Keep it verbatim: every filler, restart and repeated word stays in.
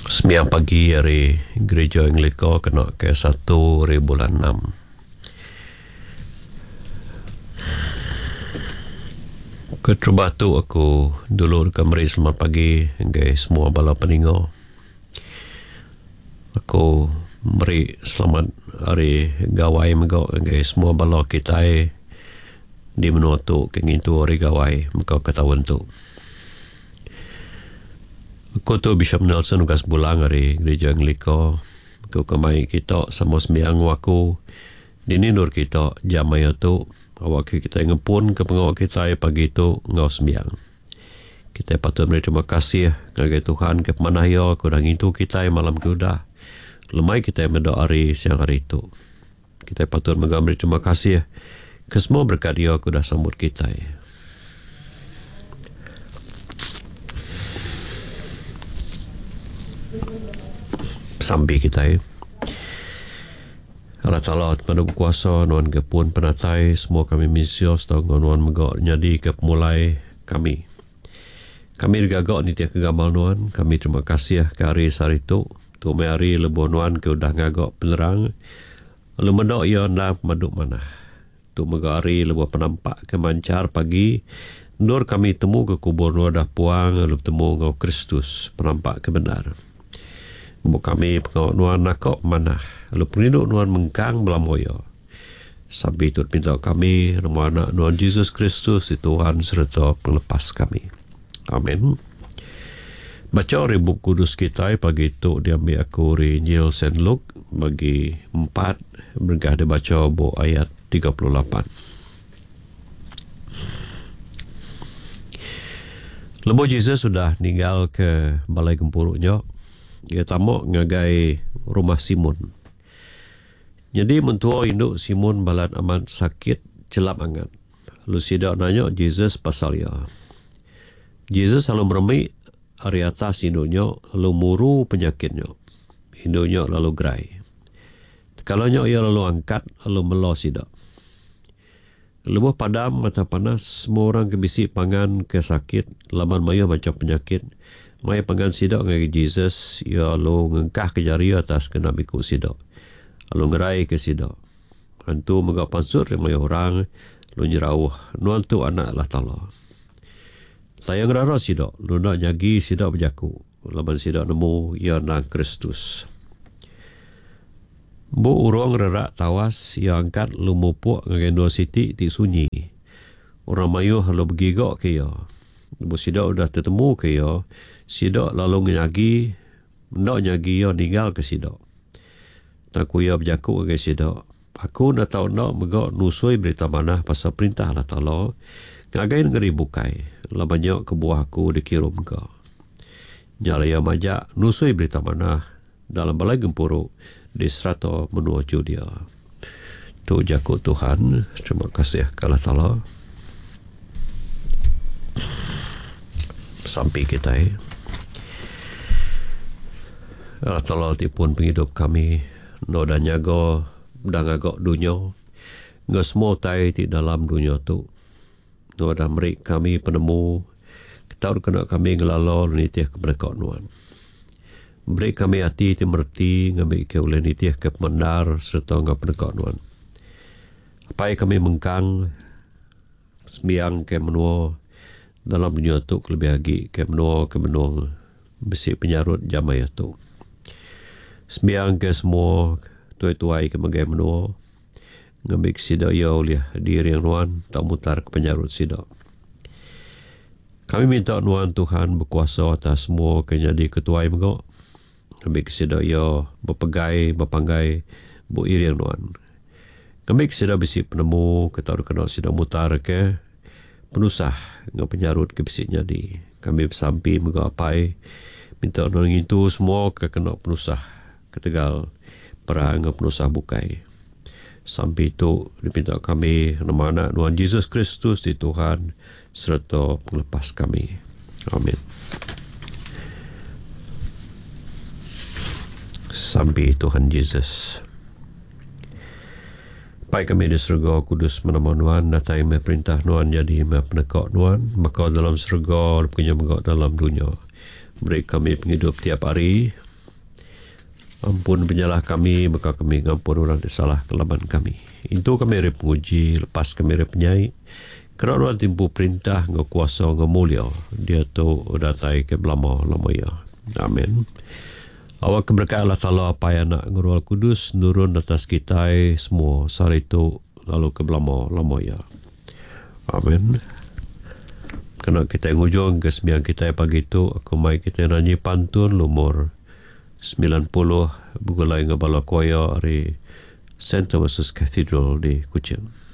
Sembiang pagi ari Gereja Anglika kena ke satu hari bulan enam. Keterubah tu aku dulu deka meri selamat pagi ngagai semua bala peninga. Aku meri selamat hari Gawai mega ngagai semua bala kitai di menua tu ke ngintu hari Gawai mega ke taun tu. Aku tu Bishop Nelson Ugas Bulang ari Gereja Anglika. Aku ke mai kita sama sembiang enggau aku dini endur kita jam maya tu awakka kitai ngepun ke pengawa kitai pagi tu enggau sembiang. Kitai patut meri terima kasih ngagai Tuhan ke pemanah iya ke udah ngintu kitai malam ke udah lemai kitai meda hari siang hari tu. Kitai patut mega meri terima kasih ke semua berekat iya ke udah sambut kitai. Sampi kitai. Allah Taala Pemadu Bekuasa, Nuan ke pun penatai semua kami mensia sereta enggau Nuan mega nyadika pemulai kami. Kami digaga nitihka gamal Nuan, kami terima kasih ke hari sehari tu. Tu meh hari lebuh Nuan ke udah ngaga penerang lalu meda iya endang pemadu manah. Tu mega hari lebuh penampak ke manchar pagi endur kami temu ke kubur Nuan udah puang lalu betemu enggau Kristus penampak ke bendar. Empu kami pengawa Nuan naka pemanah lalu pengerindu Nuan mengkang belama iya. Sampi tu dipinta kami nemu anak Nuan Jesus Kristus ti Tuhan sereta pengelepas kami. Amen. Bacha ari Bup Kudus kitai pagi tu diambi aku ari Injil Saint Luke bagi empat berengkah dibacha ba ayat tiga puluh lapan. Lebuh Jesus udah ninggalka balai gempuru nya, iya tama ngagai rumah Simon. Nyadi mentua indu Simon balat amat sakit chelap angat. Lalu sida nanya Jesus pasal iya. Jesus lalu meremi ari atas indu nya lalu muru penyakit nya. Indu nya lalu gerai. Tekala nya iya lalu angkat lalu mela sida. Lebuh padam mata panas, semua orang ke bisi pangan ke sakit laban mayuh macham penyakit, mai pangan sida ngagai Jesus, iya lalu ngengkahka jari iya atas genap iku sida, lalu ngeraika sida. Antu mega pansut ari mayuh orang, lalu nyerauh, Nuan tu Anak Allah Taala. Tang iya ngerara sida, lalu enda nyagi sida bejaku, laban sida nemu iya endang Kristus. Bu urung rerak tawas, iya angkat lalu mupuk ngagai endur siti ti sunyi. Orang mayuh lalu begiga ke iya. Lebuh sida udah tetemuka iya, sida lalu nyagi enda nyagi iya ninggalka sida. Tang ku iya bejaku ngagai sida, Aku enda tau enda mega nusui berita manah pasal Perintah Allah Taala ngagai nengeri bukai, laban nya kebuah aku dikirumka. Nya alai iya majak nusui berita manah dalam balai gempuru di serata menua Judea. Tu jaku Tuhan. Terima kasih ke Allah Taala. Sampi kitai. Allah Taala ti pun pengidup kami, enda udah nyaga, udah ngaga dunya enggau semua utai ti dalam dunya tu. Enda udah meri kami penemu tau dikena kami ngelala lalu nitihka peneka Nuan. Beri kami ati ti mereti ngambika ulih nitihka pemendar sereta enggau peneka Nuan. Apai kami mengkang sembiang ke menua dalam dunya tu kelebih agi ke menua ke benung bisi penyarut jam maya tu. Sembiang ke semua tuai-tuai ke megai menua ngambika sida iya ulih diiring Nuan tau mutar ke penyarut sida. Kami minta Nuan Tuhan bekuasa atas semua ke nyadi ketuai mega, ngambika sida iya bepegai bepanggai bu iring Nuan. Ngambika sida bisi penemu ke tau dikena sida mutarka penusah enggau penyarut ke bisi nyadi. Kami besampi mega Apai minta Nuan ngintu semua ke kena penusah ketegal perang enggau penusah bukai. Sampi tu dipinta kami nama Anak Nuan Jesus Kristus ti Tuhan sereta pengelepas kami. Amin. Sampi Tuhan Jesus. Pai kami di serega, kudus menama Nuan, datai meh perintah Nuan, jadi meh peneka Nuan, baka dalam serega, lalu pekenya mega dalam dunya. Beri kami pengidup tiap hari. Ampun penyalah kami, maka kami ngampun orang ti salah kelaban kami. Intu kami ari penguji, lepas kami ari penyai. Kerana orang timpu perintah ngau kuasa ngau mulia, dia tu datai ke belama-lama ya. Amin. Awak keberkat Allah Ta'ala Apai Anak ngau Roh Kudus nurun atas kita semua sehari tu lalu ke belama-lama ya. Amin. Kena kita ngujung ke sembiang kita pagi tu, aku mai kita nyanyi pantun lumur sembilan puluh begulai dengan bala choir dari Saint Thomas's Cathedral di Kuching.